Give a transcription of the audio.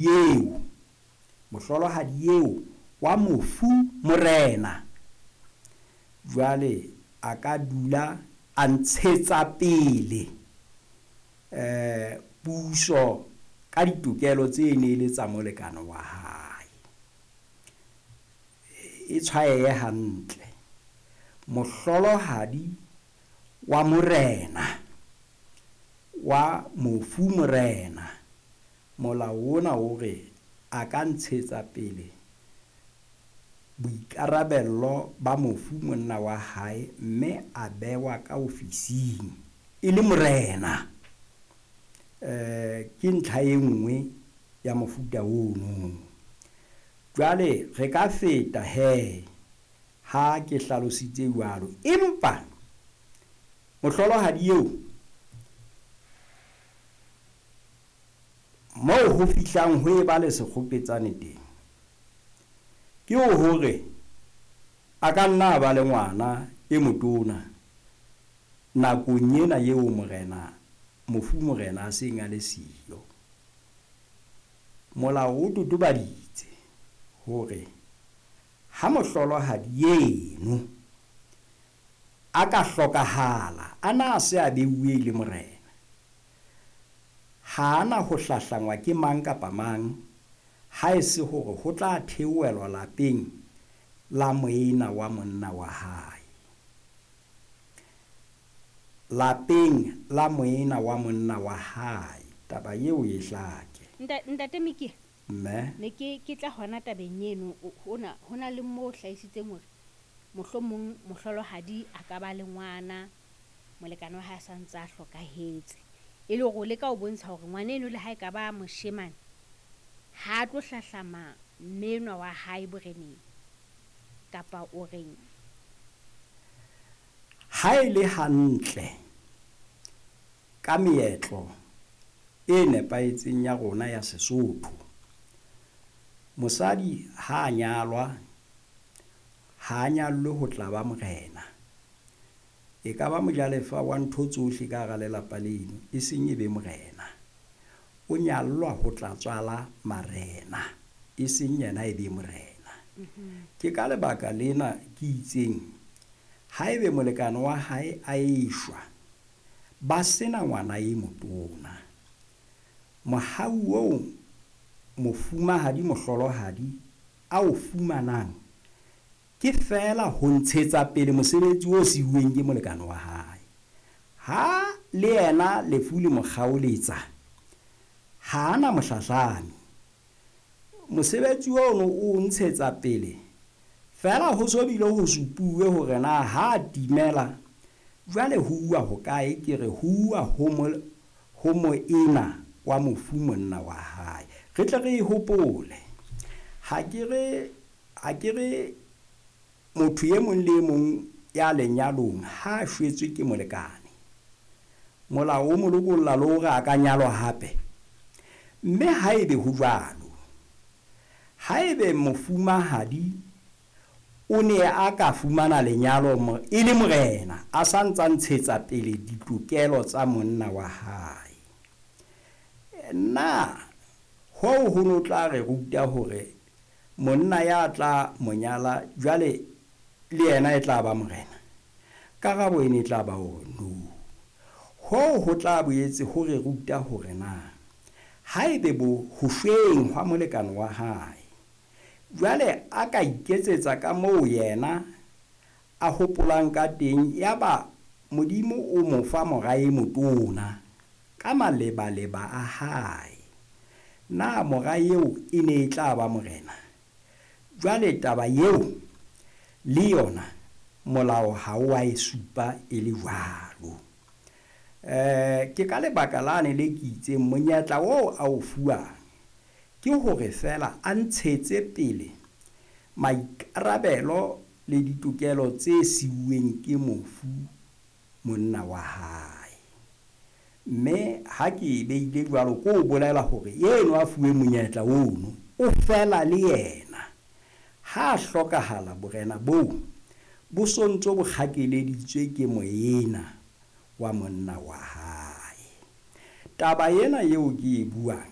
Eo, mohlolohadi eo wa mofu morena, jwale a ka dula a ntshetsa pele puso ka ditokelo tse ne le tsa molekane wa hae. E tshwaeye hantle. Mohlolohadi wa morena, wa mofu morena, molao ona o re a ka ntshetsa pele boikarabello ba mofu monna wa hae mme a bewa ka ofising e le morena. Ke ntlha e nngwe ya mofuta ono. Jwale re ka feta he ha ke hlalositse jwalo, empa mohlolohadi eo moo ho fihlang ho eba le sekgopetsane teng ke hore a ka nna a ba le ngwana e motona nakong ena eo morena, mofu morena a seng a le siyo. Molao o totobaditse hore ha mohlolohadi eno a ka hlokahala a na a se a beuwe le morena, ha ana ho hlahlangwa ke mang kapa mang, ha e se hore ho tla theohelwa lapeng la moena wa monna wa hae. Lapeng la moena wa monna wa hae. Taba eo e hlake. Ntate Mikie, Mme? Ne ke tla hona tabeng eno, hona le moo hlahisitseng hore mohlomong mohlolohadi a ka ba le ngwana, molekane wa hae a sa ntse a hlokahetse. E le hore o leka ho bontsha hore ngwana eno le ha e ka ba moshemane, ha a tlo hlahlama mme enwa wa hae boreneng, kapa o reng? Ha e le hantle ka meetlo e nepahetseng ya rona ya Sesotho, mosadi ha a nyalwa, ha a nyallwe ho tla ba morena. E ka ba mojalefa wa ntho tsohle ka hara lelapa leno, e seng e be morena. O nyallwa ho tla tswala marena, e seng yena e be morena. Ke ka lebaka lena ke itseng haebe molekane wa hae a eshwa, ba sena ngwana e motona, mohau oo mofumahadi mohlolohadi a o fumanang ke feela ho ntshetsa pele mosebetsi o siuweng ke molekane wa hae. Ha le yena lefu le mo kgaoletsa, ha ana mohlahlami. Mosebetsi ono o ntshetsa pele feela ho so bile ho supuwe hore na ha timela jwale ho uwa hokae, ke re ho uwa ho moena wa mofu monna wa hae. Re tle re e hopole. Ha ke re motho e mong le e mong ya lenyalong ha a shwetswe ke molekane, molao o mo lokolla le hore a ka nyalwa hape. Mme haebe ho jwalo, haebe mofumahadi o ne a ka fumana lenyalo e le morena, a sa ntsa ntshetsa pele ditokelo tsa monna wa hae, na hoo ho no tla re ruta hore monna ya tla monyala jwale le yena e tla ba morena? Karabo e ne tla ba hore no. Hoo ho tla boetse ho re ruta hore na haebe bo ho shweng hwa molekane wa hae, jwale a ka iketsetsa ka moo yena a hopolang ka teng, yaba Modimo o mo fa mora e motona ka malebaleba a hae, na mora eo e ne e tla ba morena? Jwale taba eo le yona molao ha o a e supa e le jwalo. Ke ka lebaka lane le ke itseng monyetla oo a o fuwang ke hore feela a ntshetse pele maikarabelo le ditokelo tse siuweng ke mofu monna wa hae. Mme ha ke e beile jwalo, ke o bolela hore eno a fuwe monyetla ono o fela le yena. Ha hlokahala borena boo bo sontso bo kgakeleditswe ke moena wa monna wa hae. Taba ena eo ke e buang